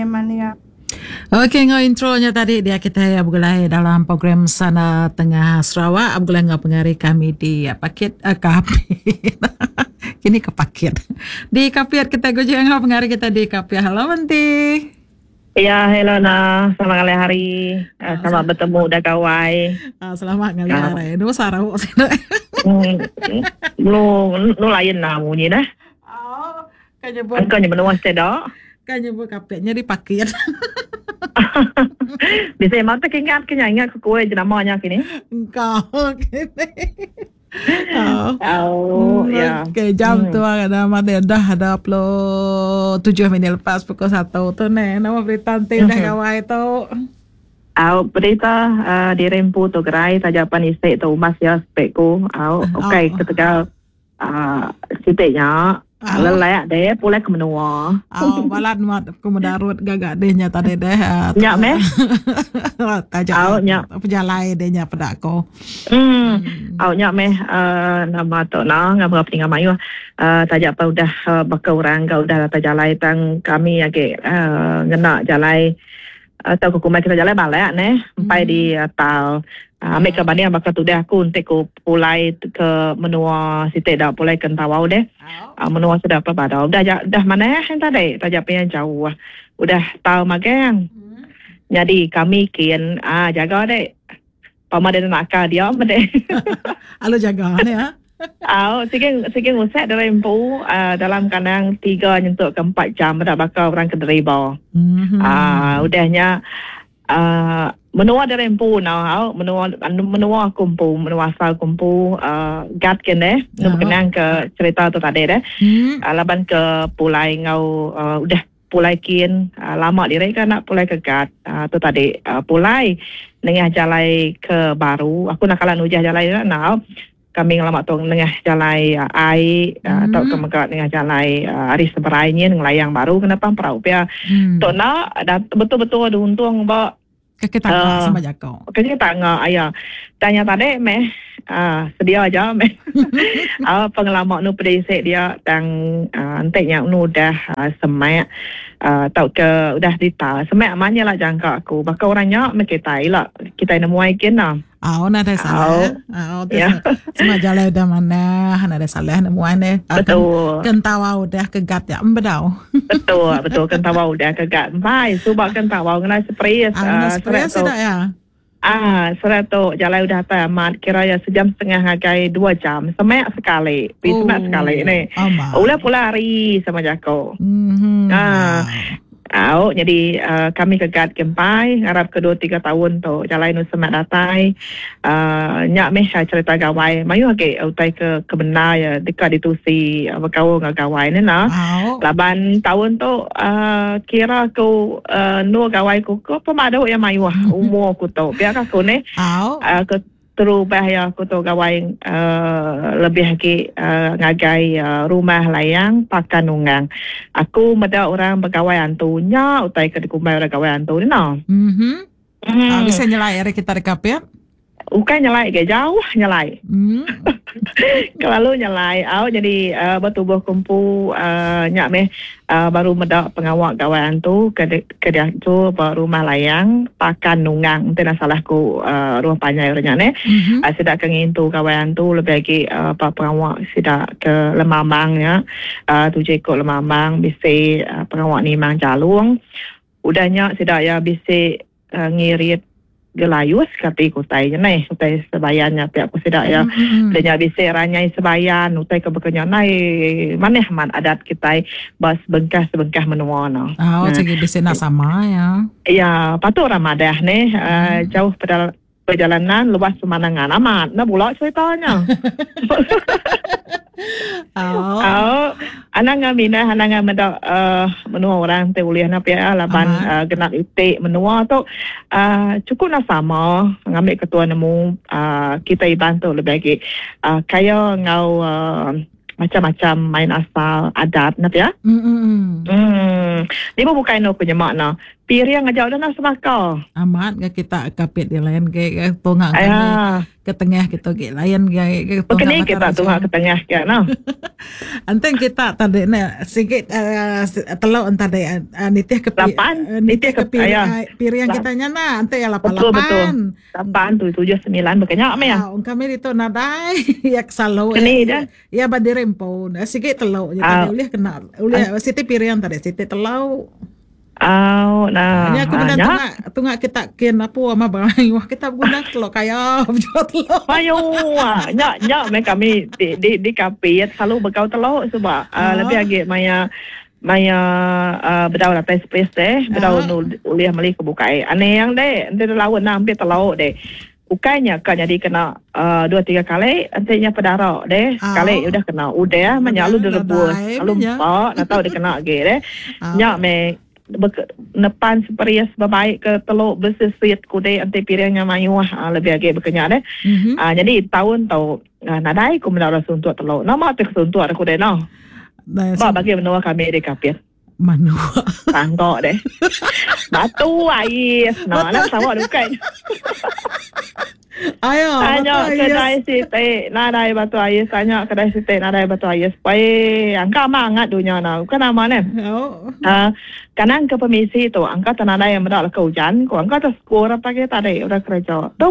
Mania. Okey enggau intro nya tadi dia kitai begulai dalam program Sana Tengah Sarawak begulai enggau pengari kami di Pakit eh, Kapit. Kini ke Pakit. Di Kapit kitai guji enggau pengari kita di Kapit. Hello Menti. Ya, hello na. Selamat ngalih hari. Uh, selamat bertemu dah gawai. Uh, selamat ngalih uh. hari. Nu sarau sini. Hmm, nu nu lain lah bunyi dah. Oh, kan nyebut. Engkau menua sedak. Kan nyebut kapit nya dipakit. Bisa emang tak ingat ke ingat ke kue jenama nya kini. Engkau kini. Oh, oh ya. Okey, jam tu ada mati dah ada 27 minit lepas pukul 1 tu ne. Nama berita enti udah gawai tu? Au berita uh, diri empu tu gerai taja pan isi tu umas ya spek ku. Au okey ketegal uh, siti nya uh. lelak deh pulai ke menua. Oh, balat mat ku medarut gaga deh nya tadi deh. Uh, nya meh. Taja oh, nya pejalai deh nya peda ko. Hmm. Au nya meh uh, nama tu na ngapa peninga mayuh uh, taja pa udah uh, baka orang ga udah datai jalai tang kami agi uh, ngena jalai Tau ke kumbai kita jalai balak neh empai di tal. Ambi ke banding baka tudah aku enti ku pulai ke menua siti da pulai ke Entawau deh. Menua sida pa Badau udah ja udah manah en tadi taja pia jauh. Udah tal magang. Nyadi kami kin aaa jaga dek. Pama deh nakal dia meh deh. Alu jaga neh ah. Au sigi sigi ngusak diri empu uh, dalam kandang tiga nyentuk ke empat jam meda baka orang ke deriba. Mm-hmm. Uh, udah nya uh, menua diri empu nau au menua menua aku empu menua asal aku empu uh, gat ke neh uh-huh. kenang ke cerita tu tadi deh. Mm. Uh, laban ke pulai ngau uh, udah Pulai kin lama diri ka enda pulai ke gat tu tadi pulai nengah jalai ke baru aku enda kala nujah jalai nya enda kami ngelama tu nengah jalai ai tauka mega nengah jalai ari seberai nyin ngelayang baru kena pang perau pia tu enda betul betul diuntung ba Kaki tangga uh, sama jako. Kaki tangga aya. Tanya tadi meh uh, sedia aja meh. uh, pengelama nu pedisi dia tang uh, enti nya nu udah uh, semak uh, tauka udah dita. Semak amat nya lah jangka aku. Baka orang nya meh kita ila kita nemuai kin lah. Au nadai salah. Au tu Ya. semua jalai udah manah, nadai salah nemuai ne. Betul. Kentawa udah ke gat ya embedau. Betul, betul kentawa udah ke gat. Empai suba kentawa ngena spray. Ah, ngena spray sida ya. Ah, serat tu jalai udah atai amat kira ya sejam setengah ngagai dua jam. Semak sekali. Pi semak sekali ni. Ulah pula hari sama jako. Mm-hmm. Ah. Au nyadi uh, kami ke gat ke empai ngarap ke dua tiga taun tu jalai nu semak datai uh, nya meh cerita gawai mayuh agi utai ke ke bendar ya deka ditusi uh, bekaul enggau gawai ne nah. Laban taun tu uh, kira ku uh, endur gawai ku ke pemadu ya mayuh umur ku tu pia ka ku neh. Uh, ke Terubah iya aku tu gawai uhh lebih agi uhh ngagai rumah layang Pakan Nunggang. Aku meda orang begawai antu nya utai ke dikumbai orang gawai antu ni noh. Mhm. Ah bisi nyelai ari kita deka pia? Ukai nyelai ga jauh nyelai. Kelalu nyelai au jadi uhh betubuh ku empu uhh nya meh uhh baru meda pengawa gawai antu ke ke diatur ba rumah layang Pakan Nunggang enti enda salah ku uhh rumah panjai orang nya neh. Mhm. Uhh sida ke ngintu gawai antu lebih agi uhh ba pengawa sida ke lemambang nya uhh tuju iku lemambang bisi uhh pengawa nimang jalung. Udah nya sida iya bisi uhh ngirit gelayus kati ku utai nya neh utai sebayan nya pia ku sida iya. Udah nya bisi ranyai sebayan utai ke baka nya nai manah amat adat kitai ba sebengkah-sebengkah menua ne. Oh sigi bisi enda sama ya. Ya patut orang madah neh uhh jauh pedal perjalanan luas pemandangan amat enda bula cerita nya. Oh. Au anang ngan minah anang ngan meda uhh menua orang ti ulih ne pia laban uhh genap iti menua tu uhh chukup ne sama ngambi ketua nemu uhh kitai Iban tu lebih agi uhh kaya enggau uhh macam-macam main asal adat ne pia. Mm. Lima bukai anu ku nyema ne. Piring aja udah nah sebaka. Amat ga kita kapit di lain ge ga tunga kami Aya. ke tengah kita ge lain ge ge tunga Bekeni mata kita raja. tunga ke tengah ke no. Enti kita tadi ne sigi uh, teluk tadi uh, nitih ke pi, Lapan, uh, nitih nitih ke ke piring, aya. piring kita nya nah enti ya lapan Betul betul. lapan. 8 7 9 bekenya meh ya. Ah, kami ditu nadai ya selalu Keni ya dah. ya badiri empu. Sigi teluk je tadi Ah. ulih kena ulih siti piring tadi siti teluk. Au nah. Nya aku Ah, bilang nya. tunga tunga kita kin apa ama bang wah kita guna telur kaya jual telur. Mayu ah. Nya nya meh kami di di di kapit selalu bekau teluk sebab uh, Ah. lebih agi maya maya uh, bedau datai space deh, bedau Ah. nu ulih meli ke bukai. Aneh yang deh, ente lawan nak ambil teluk deh. Ukainya kan jadi kena 2 3 kali ente nya pedara deh. Ah. Sekali udah kena udah menya lu Udah, direbus, nadai lalu menya. empak nak tahu dia kena lagi deh. Ah. Nya me nepan seperias berbaik ke teluk bersesit kude ente piringnya mayuh lebih agi bekenya deh. Mhm. Jadi tahun tau nadai ku menda orang suntuk teluk. Nama tu suntuk aku deh no. Nah, Ba bagi menua kami di kapit. Manua. Tangkok deh. Batu ais. Nah, nak sawak dukai. Ayo, Tanya batu ais. kedai siti, nadai batu ais. Tanya kedai siti, nadai batu ais. Pai, angka mangat dunia na. Bukan nama ne. Oh. Kadang ke permisi tu, angka tenadai yang mendak ke hujan. Ko angka terskor apa ke tadi udah kerja. Tu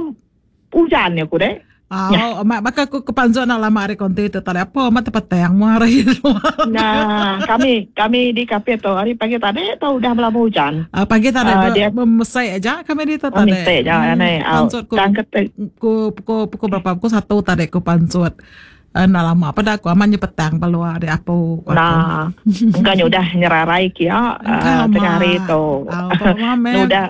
hujan ya ku deh. Oh, mak baka aku kepanzon nak lama hari konti tu tadi apa mak tempat yang mu hari tu. Nah, kami kami di kafe tu hari pagi tadi tu udah melama hujan. Pagi tadi Dia memesai aja kami di tu oh, tadi. mistake je anai. Pansut ku Dan kete ku pukul pukul berapa? Pukul 1 tadi ku pansut. Nak lama pada aku amannya petang keluar dari apa ku aku. Nah, engkau udah nyerarai kia Engkau tengah hari amat. tu. Au, apa mame. Udah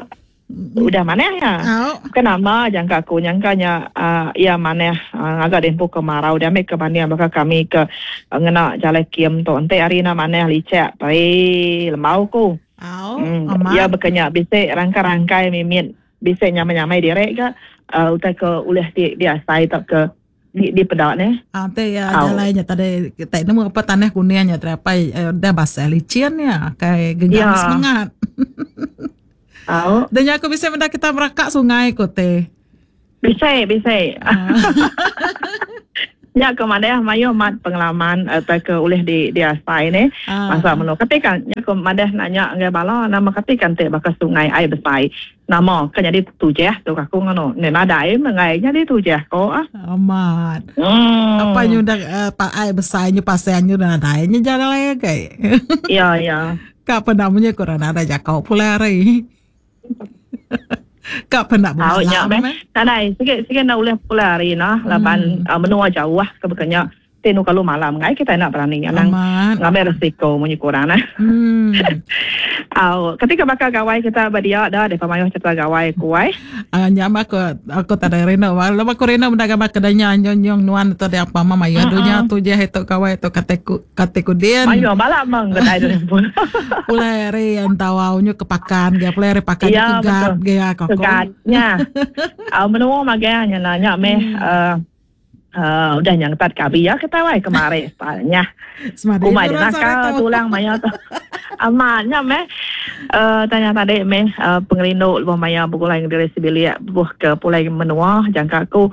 udah mana ya? Au. Kenapa jangka aku nyangkanya ia mana agak dempu kemarau dia ambil ke mana maka kami ke ngena jalan kiem tu ente hari na mana licek pai lemau ku. Au, Hmm, ia amat. berkenyak bisik rangkai-rangkai mimit bisik nyamai-nyamai direk ke utai ke ulih di di asai tak ke di di pedak ne. Ah, te ya Au. jalannya tadi kita nemu apa tanah kuningnya terapai dah basah licin ya kayak genggam Ya. semangat. Au. Dan aku bisa benda kita merakak sungai ko te. Bisik bisik. Ah. Ya ke mana mayu mat pengalaman atau ke ulih di di asai ne. Ah. Masa menu ketika nya ke madah nanya ngai bala nama ketika te bakal sungai air besar. Nama kan jadi tujah tu aku ngono. Ne nadai mengai jadi tujah ko ah. Amat. Apa nyudah pak air besar nyu pasal nyu nadai nyu jalan lagi kai. Ya ya. Kak penamnya kurang ada jakau pula hari. Kak penak Tahu nya malam meh. Nadai sikit sikit nak ulih pula hari nah laban menua jauh ah ke bekenya tenu kalau malam ngai kita nak berani nang Amat. ngambil risiko munyi kurang nah. Au, ketika bakal gawai kita berdia dah depa mayuh cerita gawai kuai. Ah, nyama aku aku tak ada reno. Walau aku reno mendaga mak kedanya nyong nuan atau ada apa mama ya dunya tu je itu kawai itu kateku kateku dien. Mayuh balak meng kedai tu pun. Pulai hari yang tahu nyu kepakan ge pulai hari pakan Ya, ke gat betul. ge aku. Kegatnya. Au menua maganya nanya meh udah nyang tat kabi ya kita wai kemari stylenya. Semadi Kumai orang dia nakal sore tu. tulang maya tu. Amatnya meh tanya tadi meh pengerindu lebuh maya begulai diri sebilik buh ke pulai menua jangka aku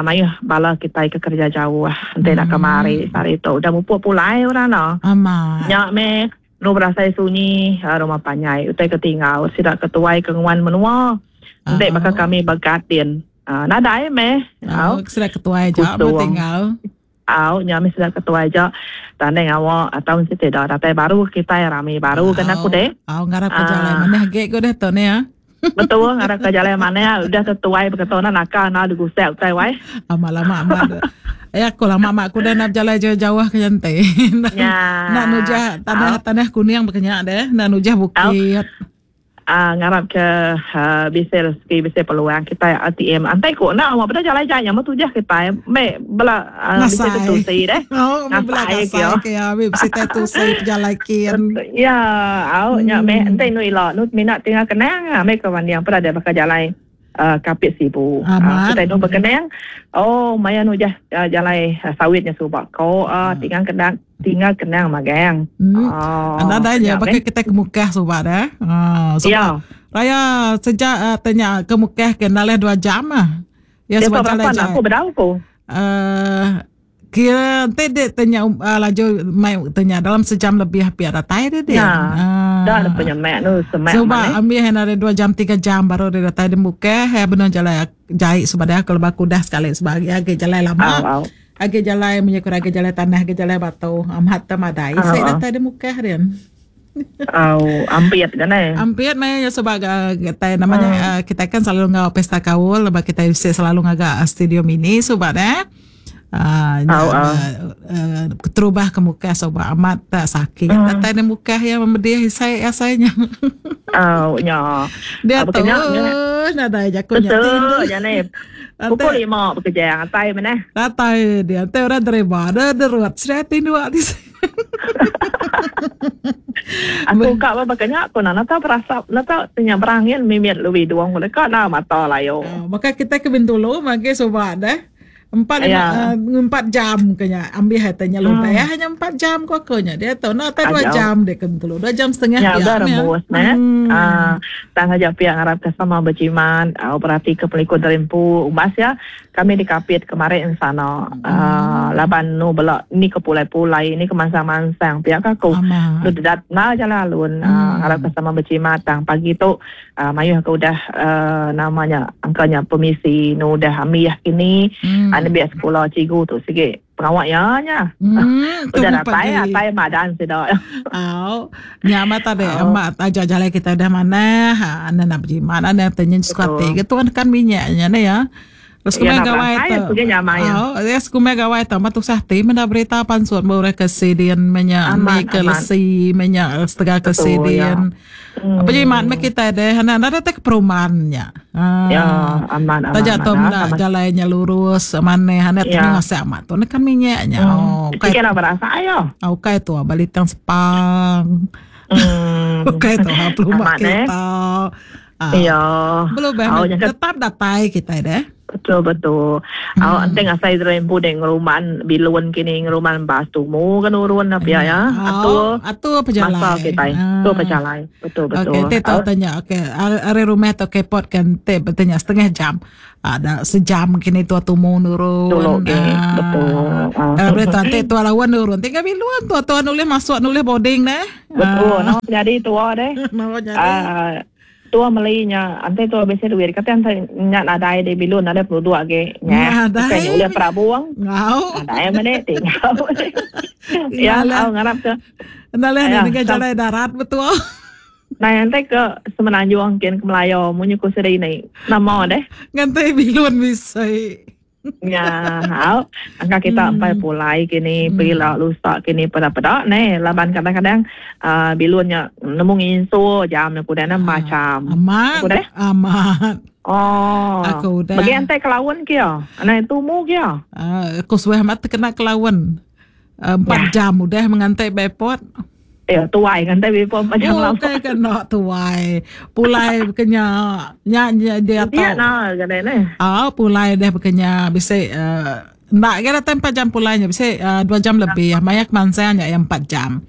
mayuh bala kita ke kerja jauh nanti nak kemari sehari tu udah mupuk pulai orang no. Amat. Nyak meh nu berasai sunyi rumah panyai utai ketinggal sidak ketuai ke nguan menua. Nanti bakal kami bergatin. Nadai meh. Oh, sudah ketua aja Kusung. tinggal. Au, nya meh sudah ketua aja. Tanding awak atau mesti tidak datai baru kita rame baru kan aku deh. Au ngarap ke jalan mana ge ko deh tu ni ya. Betul ngarap ke jalan mana udah ketua berkata nak nakal nak digusek utai wai. Amat lama amat. Aku lama mak aku dah nak jalan jauh-jauh ke jantai. Ya. Nak nujah tanah kuning berkenyak deh, nak nujah bukit. Ngarap ke bisa rezeki bisa peluang kita ATM. Antai ko nak awak pada jalan jalan yang tujah kita me bela bisa Ngasai. tetusi deh. Oh, bela Ngasai ngasai ke, ke ya, bisa tetusi jalan kian. Ya, au nya me entai nu ila nu minat tinggal kenang me kawan yang pada ada bakal jalan kapit sibu. Amat. Kita nu berkenang. Oh, maya nu jah jalan sawitnya subak ko tinggal kenang Tinggal kenang magang. Hmm. Anda dah je baka kita ke Mukah suba dah. Ha, suba. Ya. Raya sejak uh, tanya ke Mukah ke nalih 2 jam ah. Ya sebab jalan jauh. Aku bedau ku. Uh, kira nanti dia tanya uh, laju mai tanya dalam sejam lebih pihak datai dia dia. Ya. Uh, dah ada penyemak tu semak. Sebab ambil yang ada 2 jam 3 jam baru dia datai di Mukah, ya benar jalan jahit sebab dia kalau baku dah sekali sebab agi jalan lama. Au, au. Agi jalai munyi ku agi jalai tanah agi jalai batu amat te madai sik datai di Mukah rian. Au ampit ga neh. Ampit meh nya suba ga kitai nama nya kitai kan selalu enggau pesta kaul laban kitai bisi selalu ngaga studio mini suba neh. Nya keterubah ke Mukah suba amat te sakit datai di Mukah iya memedih isai asai nya. Au nya. Diatu nadai jaku nya. Betul nya neh. Pukul 5 bekejang atai meneh. Datai dia enti orang deriba deh derut sida tinduk ti. Aku ka ba baka nya aku nana tau berasap enda tau nya berangin mimit lu idung deka enda mata layu. Baka kitai ke Bintulu magi suba deh. Empat lima empat jam ke nya ambih ati nya lubeh nya empat jam ko aku nya diatu enda tai dua jam deh ke Bintulu dua jam setengah pia meh. Rembus neh. Tang aja pia ngarap ke sama bejimat berati ke pelikun diri empu umbas iya kami di Kapit kemari ensana laban nu bela ni ke pulai pulai ni ke mansang mansang pia ka aku nu dedat enda jalai alun ngarap ke sama bejimat tang pagi tu mayuh ke udah nama nya angka nya pemisi nu udah ambih kini nembiak sekula cikgu tu sigi pengawa iya nya. Udah datai atai madan sida. Au. Nya amat tadi amat aja jalai kita udah manah enda nak bejimat enda te nyen suka ati ke tuan kan minyak nya neh ya. Terus kumai gawai tu. Au, yes kumai gawai tu amat tusah ati meda berita pansut ba orang ke sidin menya ni ke lesi menya setegal ke sidin. Apa jimat meh kitai deh enda enda datai ke perumahan nya. Ya, amat amat. Taja tu meda jalai nya lurus manah enda temu ngasak amat tu neka minyak nya. Oh, ukai. Sikit berasa ayo. Ukai tu balitang sepang. Ukai tu ha pelumba kereta. Ya. Belum bah tetap datai kitai deh. Betul betul. Hmm. Awak enti ngasai diri empu dek ngeruman bilun kini ngeruman bas tumu ke nurun apa ya ya. Atur atur pejalai. Masa kitai. Ah. Atur pejalai. Betul betul. Okey, te tau tanya. Okey, ari rumah tu ke port kan te bertanya setengah jam. Ada sejam kini tua tumu nurun. Dulu okey. Ah. Betul. Ah. Uh, boleh tu te tua lawan nurun. Tinggal bilun tua tua nulih masuk nulih boarding deh. Betul. Ah. No, jadi tua deh. No, jadi. Ah. Tua meli nya enti tua bisi duit kati enti nya nadai di bilun nadai penuduk agi nya bukai nya ulih perabung nadai meh deh tinggal ya au ngarap ke enda leh nengah jalai darat betul Nai enti ke Semenanjung kin ke Melayu munyi ku siri ni nama deh nganti bilun bisi. Nya au angka kita empai pulai kini pila lusa kini peda peda neh laban kadang kadang uhh bilun nya nemu nginsu jam ne kuda ne macam. Amat Ku deh. amat. Oh. Aku udah. Bagi antai kelaun kia. Anai tumu kia. Uh, aku suah amat kena kelaun. Empat jam udah mengantai ba airport. Eh, tuai ngantai ba airport empat jam oh, lama. Bukai kena tuai. Pulai bekenya nya nya dia tau. Dia nah kadai neh. Ah, pulai deh bekenya bisi uh, enda ke datai empat jam pulai nya bisi uh, dua jam lebih. Maya ke mansang nya iya empat jam.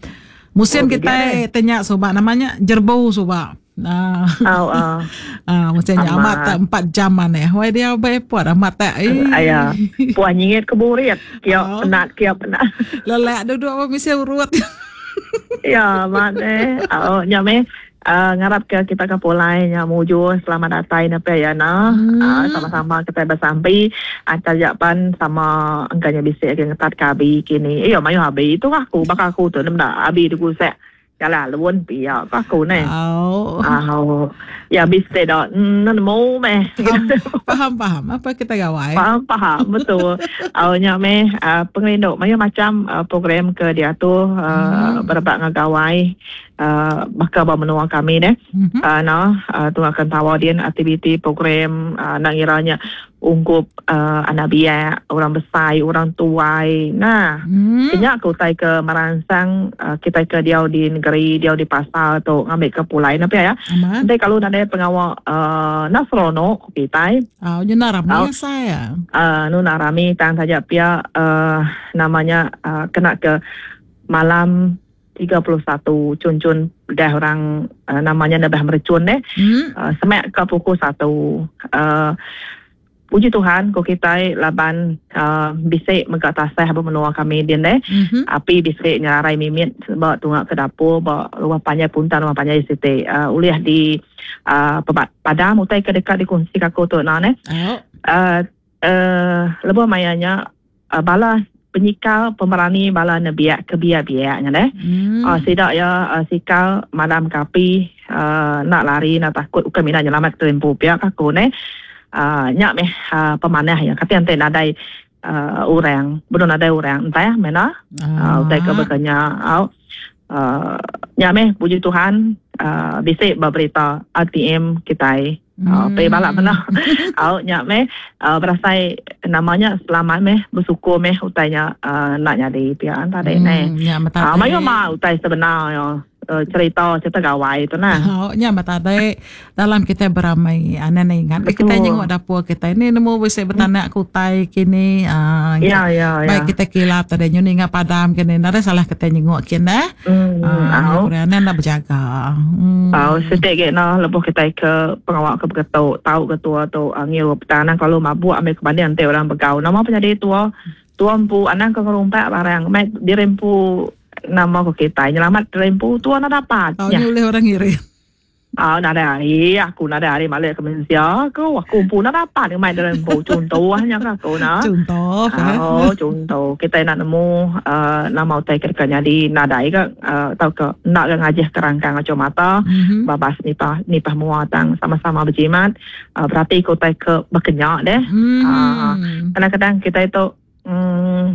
Musim oh, kitai tanya suba nama nya jerbu suba. Ah. Oh, ah. Ah, mesti nya amat tak empat jam mana. Wai dia ba airport amat tak. Eh. Aya. Puah nyingit ke burit. Kiok oh. penat, kiok penat. Lelak duduk apa mesti urut. ya, amat eh. Oh, nya meh. Uh, ngarap ke kita ke pulai nya mujur selamat datai na pe ya na. Uh, sama-sama kita bersampi antar japan sama engkanya bisi agi ngetat ke abi kini. Iyo mayuh abi tu aku baka aku tu nda abi digusek. Jalan alun pia ko aku neh. Au. Au. Ya bisi da nemu meh. Faham, faham, faham. Apa kita gawai? Faham, faham. Betul. Au nya meh uh, pengerindu mayuh macam uh, program ke diatur uh, hmm. berebak enggau gawai uh, baka ba menua kami deh. Hmm. Uh, no, uh, tunga tawa din aktiviti program uh, nak ngiranya ungkup uh, anak biak, orang besai, orang tuai. Nah, hmm. nya ke utai ke meransang uh, kita ke diau di negeri, diau di pasar tu ngambil ke pulai napi ya. Nanti kalau nadai pengawa uh, nak seronok kita. Oh, nya nak rami saya. Uh, nu nak rami tang saja pia uh, namanya uh, kena ke malam 31 chun-chun udah orang uh, namanya nebah merechun deh. Hmm. Uh, semak ke pukul 1. Uh, puji Tuhan ko kitai laban uh, bisi mega tasah ba menua kami din deh. Mm-hmm. Api bisi nyerarai mimit ba tunga ke dapur ba rumah panjai puntan rumah panjai siti uh, ulih di uh, padam utai ke deka dikongsi aku tu nah neh. Oh. Uh, uh, lebuh maya nya uh, bala penyikar pemerani bala nebiak ke biak-biak nya deh. Hmm. Uh, sida ya uh, sikar madam ke api uh, nak lari nak takut bukan mina nyelamat ke empu pia aku ne. Uh, nya meh uh, pemanah ya kata ente nadai uh, orang belum nadai orang entah mena uh, utai ke bekenya au uh, nya meh puji Tuhan uh, bisi berita RTM kitai Hmm. Pe balak mena. Au nya meh uh, berasai namanya selamat meh bersyukur meh utai nya uh, nak nyadi pia tadi hmm, neh. Nya mata. Uh, mayu ma utai sebenar yo. Uh, cerita cerita gawai tu nah. Oh, nya mata tadi dalam kita beramai ane ne ingat Betul. kita nyengok dapur kita ini nemu bisi betanak hmm. kutai kini uh, ya ya ya. Baik kita kilap tadi nyu ninga padam kini nada salah kita nyengok kini. Hmm, ah, uh, ane nak berjaga. Hmm. Tau setik ge no lebuh kitai ke pengawa ke beketu tau ke tua tu uh, ngirup tang anang kelalu mabuk ambil ke banding enti orang begau nama penyadi tua tua empu anang ke ngerumpak barang mai diri empu nama ko kitai nyelamat diri empu tua enda dapat. Tau nya ulih orang ngirim. Ah, nadai hari aku nadai hari malik ke mensia aku aku empu enda dapat ngemai diri empu chunto nya ke aku nah. Chunto. Ah, oh chunto kitai enda nemu uh, nama utai ke deka nyadi nadai ga uh, tauka enda ga ngajih ke rangkang achu mata mm-hmm. babas nipah nipah mua tang sama-sama berjimat uh, berati ke utai ke bekenya deh. Mm. Uh, kadang-kadang kitai tu mm,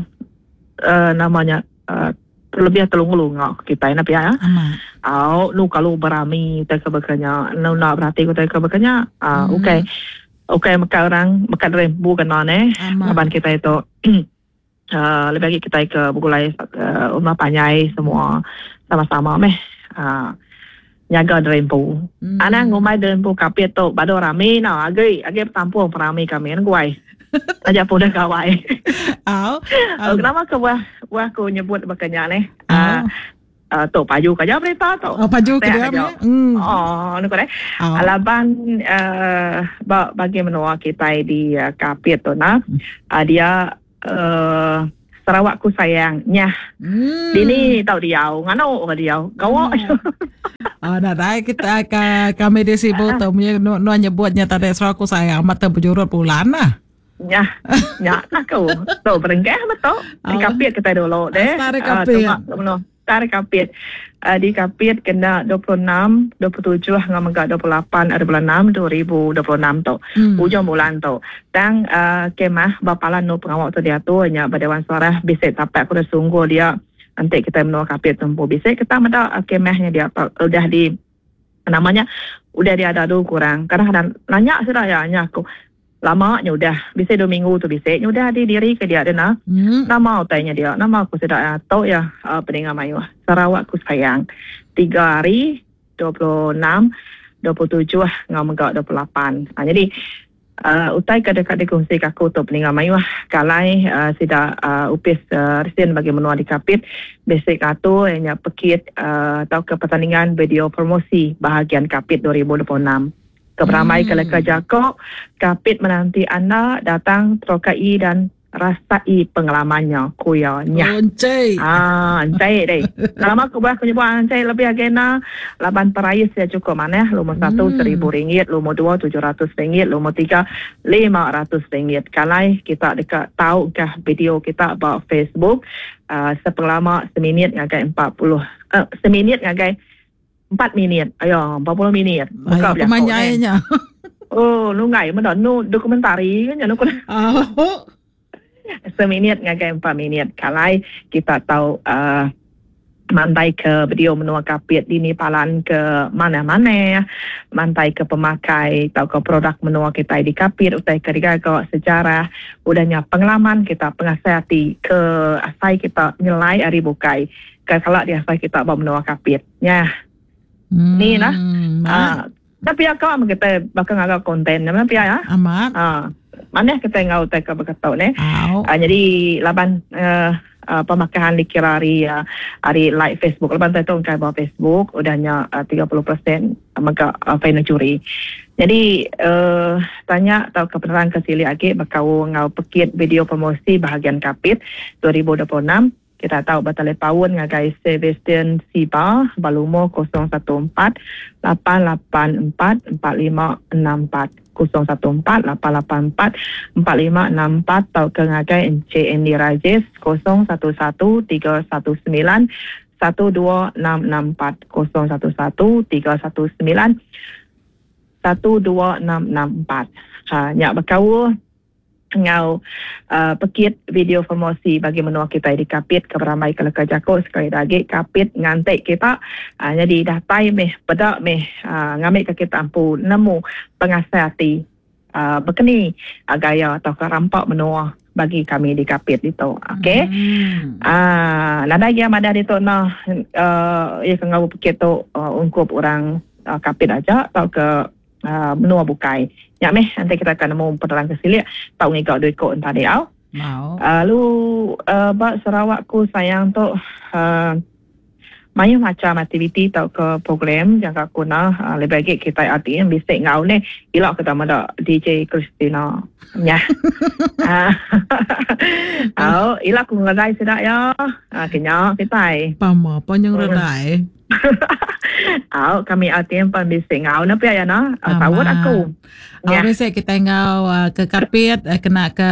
uh, namanya uh, terlebih telunga-lunga ke kitai nah pia ya. Amat. Au nu kalau berami utai ke baka nya nu enda berati utai ke baka nya. Ah Hmm. ukai ukai meka orang meka derempu kena neh Amat. laban kitai tu uh, lebih agi kitai ke begulai uh, rumah panjai semua sama-sama meh uh, nyaga derempu. Hmm. Anang ngumbai derempu kapit tu badu rami no agi agi betampung perami kami ne guai. Taja pun udah gawai. Au. Oh, kenapa ke buah buah aku nyebut baka nya neh? Au. Uh, uh, tu paju ke aja berita tu. Oh, paju ke Tek dia aja. meh. Hmm. Oh, nu ko deh. Au. Laban uh, ba bagi menua kitai di uh, Kapit tu nah. Uh, dia uh, Sarawak ku sayang nyah. Hmm. Dini tau diau, nganu ke diau. Gawa. Hmm. Ah, nadai kita ka, kami di Sibu tu nu nu nyebutnya tadi Sarawak ku sayang mata berjurut bulan lah. Nyah. Nyah aku. Tu berengkah betul. Di Oh. Kapit kita dulu deh. Start di Ah, Kapit. tunga ke menua. Start Kapit. Uh, di Kapit kena 26, 27 dengan mega 28 hari bulan 6 2026 tu. Hmm. Ujung bulan tu. Tang uh, kemah bapalan nu pengawal tu diatur nya ba Dewan Suarah bisik tapak ku sungguh dia nanti kita menua Kapit tempu bisik kita meda uh, kemahnya dia apa udah di namanya udah dia ada tu kurang. Kadang-kadang nanya sudah ya nya aku lama nya udah bisik 2 minggu tu bisik nya udah di diri ke dia dena. Hmm. Nama utainya dia, nama aku sudah ya, tau ya uh, peninga mayuh. Sarawak ku sayang. 3 hari 26, 27 ngau mega 28. Ha, jadi uh, utai ke dekat dikongsi ke aku tu peninga mayuh kalai uh, sida uh, upis uh, resin bagi menua di Kapit basic atu nya pekit uh, atau ke pertandingan video promosi bahagian Kapit 2026. Keberamai Hmm. ke leka jako Kapit menanti anda datang terokai dan rasai pengalamannya kuya nyah. Oncai. Ah, encai deh. Lama aku buat aku nyebut encai lebih agena laban perais ya cukup maneh. Lumur 1 Hmm. RM1,000, lumur 2 RM700, lumur 3 RM500. Kalai kita dekat tahu kah video kita ba Facebook uh, sepelama seminit ngagai 40 uh, seminit ngagai 4 minit. Ayo, 40 minit. Ayo, berjaku, ni. pemanjainya. Oh, nunggai mana nu dokumentari kan nu Oh. seminit ngagai 4 minit. Kalai kita tahu uh, mantai ke video menua Kapit dini palan ke mana-mana mantai ke pemakai atau ke produk menua kita di Kapit utai ke digaga sejarah udahnya pengalaman kita pengasih ke asai kita nyelai hari bukai ke kalau di asai kita bawa menua Kapit nya. Hmm. Ni lah. Ah. Ah, tapi akak ama kita bakal ngagak konten nama pia ya. Amat. Ah, mana kita ngau utai ke berkata ne. Au. Ah, jadi laban uh, Pemakahan dikira ari ari like Facebook laban tu engkai ba Facebook udah nya 30% mega final juri. Nyadi uhh tanya tauka penerang ke silik agi bekaul enggau pekit video promosi bahagian Kapit 2026 kita tau betalipaun ngagai Sebastian Siba ba lumur 014 884 4564. 014 884 4564 tauka ngagai Encik Andy Rajes 011 319 12664 011 319 12664. Ha nya bekaul enggau pekit video promosi bagi menua kitai di Kapit ke berambai ke leka jaku sekali da agi Kapit nganti kita nyadi datai meh peda meh ngambika kita empu nemu pengasai ati bekeni gaya tauka rampa menua bagi kami di Kapit ditu ok aaa nadai gia madah ditu nah iya ke enggau bepekit tu ungkup orang Kapit aja tauka menua bukai. Nya meh enti kita ka nemu penerang ke silik tau ngiga dua iko enta diau. Lalu ba Sarawak ku sayang tu mayuh macham aktiviti tauka program jangka ku nah lebih agi kitai RTM bisi enggau neh ila kita meda DJ Christina nyah. Au ila ku ngeredai sida iya ke nya kitai. Pama pa nyau ngeredai. Au kami RTM pan bisi enggau ne pia ya nah. Saut aku. Au bisi kitai enggau ke Kapit kena ke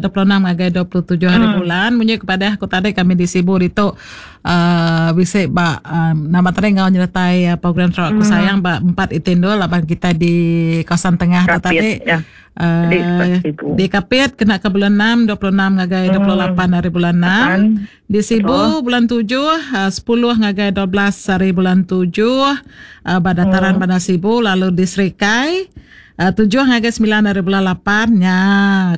26 ngagai 27 hari bulan munyi kepada aku tadi kami di Sibu ditu uhh bisi ba nama tadi enggau nyertai program Sarawak Ku Sayang ba empat iti endur laban kitai di kawasan tengah tu tadi. Di Kapit kena ke bulan 6 26 ngagai 28 hari bulan 6. Di Sibu bulan tujuh, 10 ngagai 12 hari bulan tujuh ba dataran Bandar Sibu lalu di Serikai tujuh ngagai semilan hari bulan lapan nya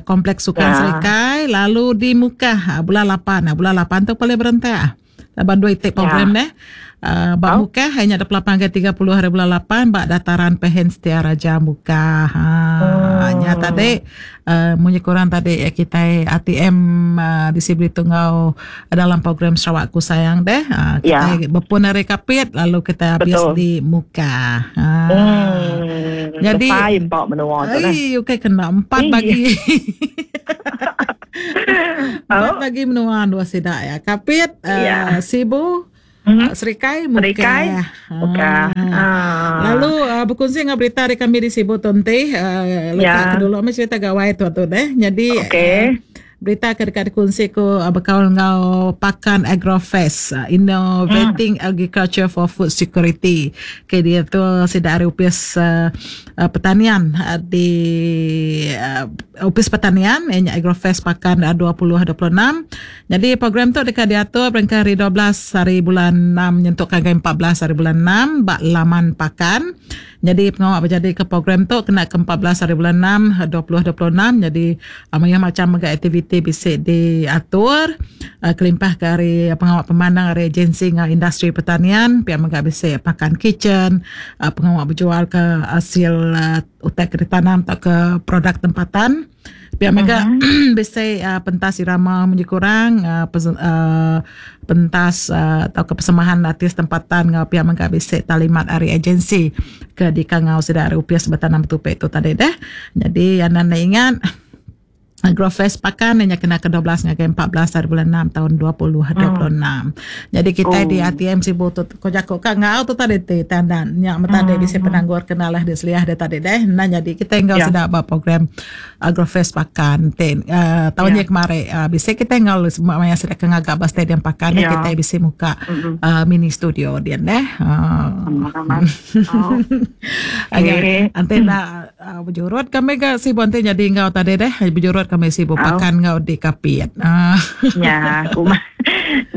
Kompleks Sukan Serikai lalu di Mukah bulan lapan. Bulan lapan tu paling berentak laban dua iti program deh. Ba Mukah iya nya 28 ngagai 30 hari bulan lapan ba dataran Pehen Setia Raja Mukah. Nya tadi Munyi kurang tadi kitai RTM bisi beritu enggau dalam program Sarawak Ku Sayang deh. Kitai bepun ari Kapit lalu kitai habis di Mukah. Nyadi besai empa menua tu neh. Ei ukai kena empat bagi. Empat bagi menua dua sida ya. Kapit, Sibu, Serikai Serikai Mukah. Lalu bekunsi enggau berita ari kami di Sibu tu enti leka ke dulu meh cerita gawai tu tu deh. Nyadi berita ke deka dikunsi ku bekaul enggau Pakan Agrofest Innovating Agriculture for Food Security ke diatur sida ari opis pertanian di opis pertanian iya nya Agrofest Pakan 2026. Nyadi program tu deka diatur berengkah hari 12 hari bulan 6 nyentuk ngagai 14 hari bulan 6 ba laman Pakan. Nyadi pengawa bejadika program tu kena ke 14 hari bulan 6 2026 nyadi mayuh macham mega aktiviti bisi diatur kelimpah ke ari pengawa pemandang ari agensi enggau industri pertanian pia mega bisi Pakan Kitchen pengawa bejual ke asil utai ke ditanam tauka produk tempatan. Pia mega bisi pentas irama munyi kurang pentas tauka persembahan artis tempatan enggau pia mega bisi talimat ari agensi ke dikangau sida ari opis betanam betupi tu tadi deh. Nyadi anang enda ingat Agrofest Pakan inya kena ke 12 ngagai 14 hari bulan 6 taun 2026. Nyadi kitai di RTM Sibu tu ko jaku ka enggau tu tadi ti tandan nya meh tadi bisi penanggur ke nalah di seliah dia tadi deh enda nyadi kitai enggau sida ba program Agrofest Pakan ti taun nya kemari bisi kitai enggau maya sida ke ngaga ba stadium Pakan deh kitai bisi muka mini studio din deh. Enti enda bejurut kami ga Sibu enti nyadi enggau tadi deh bejurut kami Sibu Pakan enggau di Kapit. Nya ku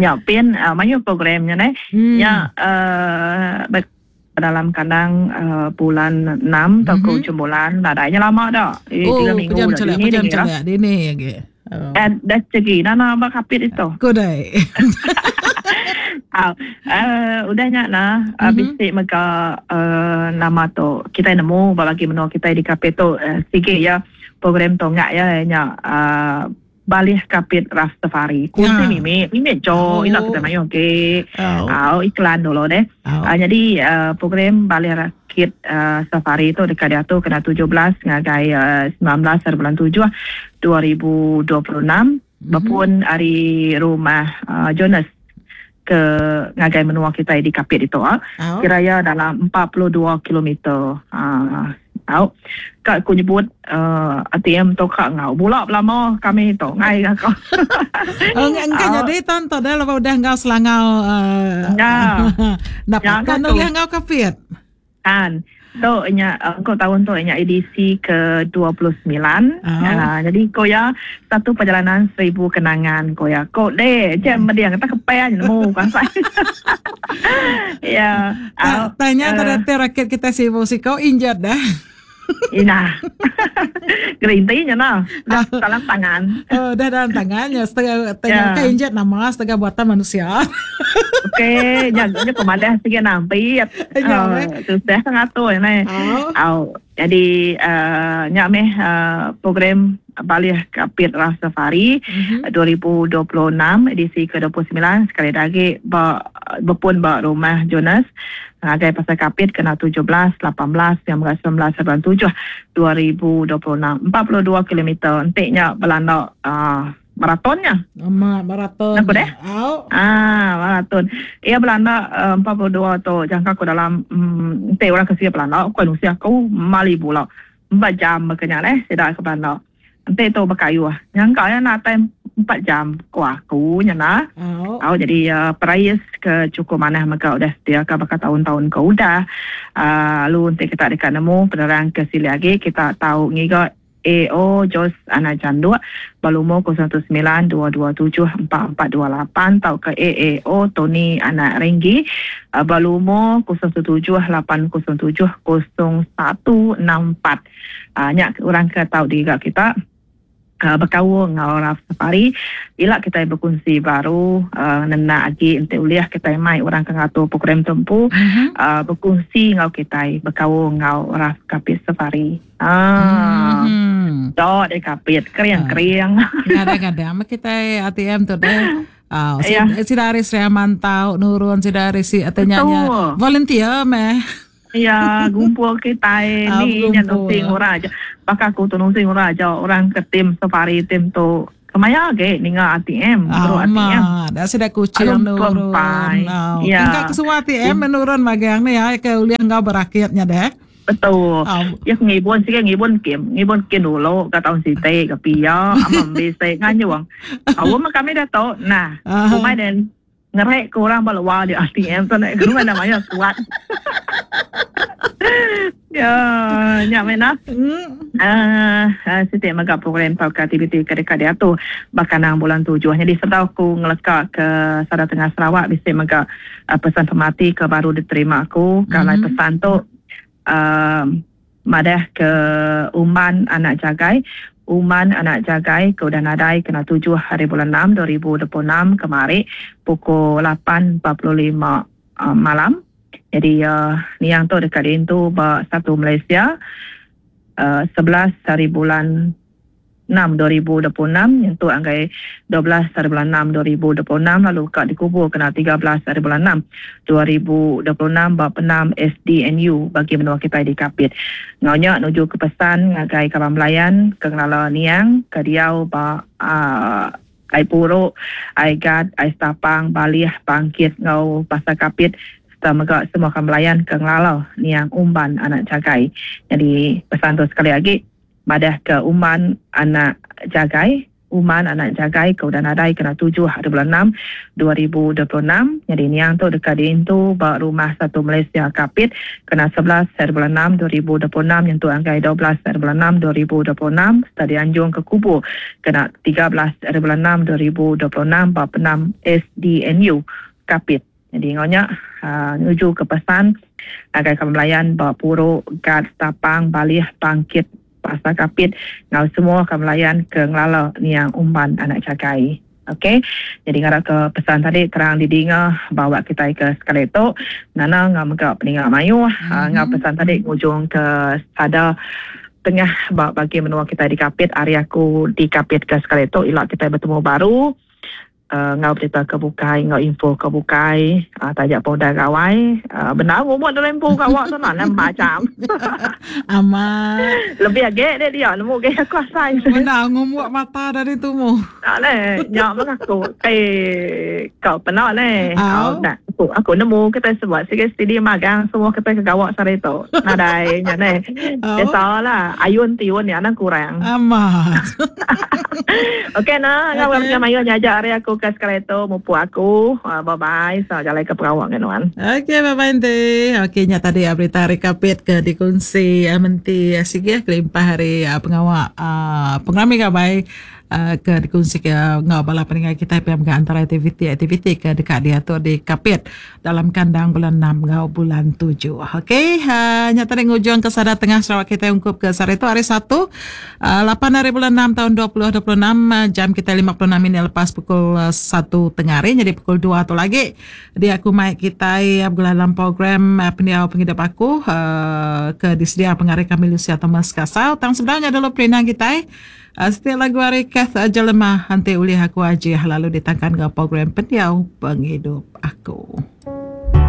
nya pin mayuh program nya neh. Nya dalam kandang bulan enam tauka ujung bulan nadai nya lama da. Tiga minggu da dini dini lah. Dini agi. Dah chegi nana ba Kapit ditu. Ku dai. Au udah nya nah bisi mega nama tu kitai nemu ba bagi menua kitai di Kapit tu sigi iya program tunggak iya nya. Balih Kapit Rastafari. Kunsi mimit, mimit jo, ila kita mayuh agi. Au iklan dulu deh. Nyadi program Balih Rakit Safari tu deka diatur kena 17 ngagai 19 hari bulan 7 2026 bepun ari rumah Jonas ke ngagai menua kitai di Kapit ditu. Kira iya dalam 42 kilometer. Tau. Ka ku nyebut uh, ATM tu ka ngau bula belama kami tu ngai ka ko. Oh, engka jadi tan tu dah lepas udah ngau selangau uh, Ya. Dapat kan ulih ngau kapit. Kan. Tu nya engko tahun tu nya edisi ke 29. Oh. Uh, jadi ko ya satu perjalanan seribu kenangan ko ya. Ko de je meding tak kepai nemu kasai. Ya. Tanya uh, tadi rakyat kita sibuk siko injat dah. Ina. Gerinti nya nah. Dah dalam tangan. Oh, dah dalam tangan ya. Setengah tengok yeah. injat nama setengah buatan manusia. Okey, nya nya pemadah sikit nampi. Ya, tu dah ngatur ni. Oh. Au. Jadi uh, nya meh uh, program Balih Kapit Rastafari mm-hmm. 2026 edisi ke-29 sekali lagi ba bepun ba rumah Jonas ngagai Pasar Kapit kena 17, 18 yang mega 19 bulan 7 2026 42 kilometer enti nya belanda uh, maratonnya. Amat maraton. Aku deh. Au. Ah, maraton. Ia belanda uh, 42 tu jangka aku dalam um, enti orang ke sia belanda aku nusia aku mali bula. 4 jam kenya leh sida ke belanda. Enti tu bekayuh. Nyangka ya nak time 4 jam ku aku nya nah. Oh. Au jadi uh, perais ke cukup manah mega udah sedia ke baka tahun-tahun ke udah. Lalu enti kita dekat nemu penerang ke sili lagi kita tahu ngiga AO Jos Anak Janduk balumur 019 227 4428 tau ke AAO Tony Anak Renggi balumur 017 807 0164. Nya orang ke tau diga kita bekaul enggau Raf Safari. Ila kita berkongsi baru nenak agi enti ulih kita mai orang ke ngatur program tu empu berkongsi enggau kita bekaul enggau Raf Kapit Safari. Dok deh Kapit kering-kering. Kadang-kadang kita ATM tu deh. Sida hari Sri Aman tau nurun sida hari si atanya volunteer meh. Ya, gumpul kita ni nya nusing orang aja. Bakal aku tu nusing orang aja, orang ke tim safari tim tu. Kemaya ge ninga ATM, terus ATM. Dah sida kucing nurun. Ya. Engka ke semua ATM menurun magang ni ya ke ulih enggau berakitnya deh. Betul. Ya ngibun sikit ngibun kim, ngibun kim dulu ke tahun siti ke pia, amam bisi nganyung. Awam kami dah tahu. Nah, umai dan ngerek ke orang baluar di ATM tu nak ke mana maya kuat. Ya, nya mena. Siti mega program tau ke aktiviti ke dekat dia tu bakanang bulan 7. Jadi sebab aku ngeleka ke Sada Tengah Sarawak bisi mega pesan pemati ke baru diterima aku. Kalau pesan tu madah ke Uman Anak Jagai. Uman Anak Jagai ke udah nadai kena 7 hari bulan 6 2026 kemari pukul 8.45 malam. Jadi niang tu dekat diintu ba 1 Malaysia 11 hari bulan 6 2026 yang tu anggai 12 hari bulan 6 2026 lalu kak dikubur kena 13 hari bulan 6 2026 bab 6 SDNU bagi menua kita di Kapit. Ngaunya nuju ke pesan ngagai kaban belayan ke ngelala niang ke diau ba ai Puruk, ai Gad, ai Stapang, Balih, Bangkit ngau Pasar Kapit serta mega semua kaban belayan ke ngelala niang Umban Anak Jagai. Jadi pesan tu sekali lagi madah ke Uman Anak Jagai, Uman Anak Jagai ke udah nadai kena 7 hari bulan 6 2026. Jadi niang tu dekat diintu ba Rumah Satu Malaysia Kapit kena 11 hari bulan 6 2026 yang tu anggai 12 hari bulan 6 2026 serta dianjung ke kubur kena 13 hari bulan 6 2026 ba 6 SDNU Kapit. Jadi ngonya nuju ke pesan agai kaban belayan ba Puruk, Gad, Tapang, Balih, Bangkit, Pasar Kapit ngau semua kaban belayan ke ngelala niang Umban Anak Jagai. Okey. Jadi ngarap ke pesan tadi terang didinga bawa kita ke sekali tu. Nana ngau mega peninga mayuh ngau pesan tadi ngujung ke sada Tengah ba bagi menua kitai di Kapit ari aku di Kapit ke sekali tu ila kitai betemu baru enggau berita ke bukai enggau info ke bukai taja pun udah gawai bendar ngumut diri empu gawa tu nah nambah jam. Amat. Lebih agi deh dia nemu agi aku asai. Bendar ngumut mata dari tumu. Tak leh nya meh aku eh kau peda leh. Au. Aku, aku nemu kitai sebuat sigi stidi magang semua kitai ke gawa sehari tu. Nadai nya neh. Biasalah ayun tiun nya anang kurang. Amat. Okey nah, ngau okay. Macam mayuh nyaja hari aku ke sekali tu mupuk aku. Uh, bye bye. So jalai ke perawak dengan nuan. Okey, bye bye enti. Okey, nya tadi ah, berita hari kapit ke dikongsi ah, menti ah, sigi kelimpah hari pengawa pengerami gabai ke dikongsi ke enggau bala peninggai kitai pia mega antara aktiviti-aktiviti ke deka diatur di Kapit dalam kandang bulan enam enggau bulan tujuh. Okey, uh, nya tadi ngujung ke sada tengah Sarawak kitai ungkup ke sehari tu hari Satu, uh, 8 hari bulan 6 tahun 2026 uh, jam kitai 56 minit lepas pukul 1 tengah hari jadi pukul 2 tu lagi dia aku mai kitai begulai dalam program uh, pendiau pengidup aku uh, ke disedia pengari kami Lucia Thomas Kasau. Tang sebenarnya dulu perindang kitai Setiap lagu ari Kath Jelema enti ulih aku ajih lalu ditangkan enggau program Pendiau Pengidup Aku.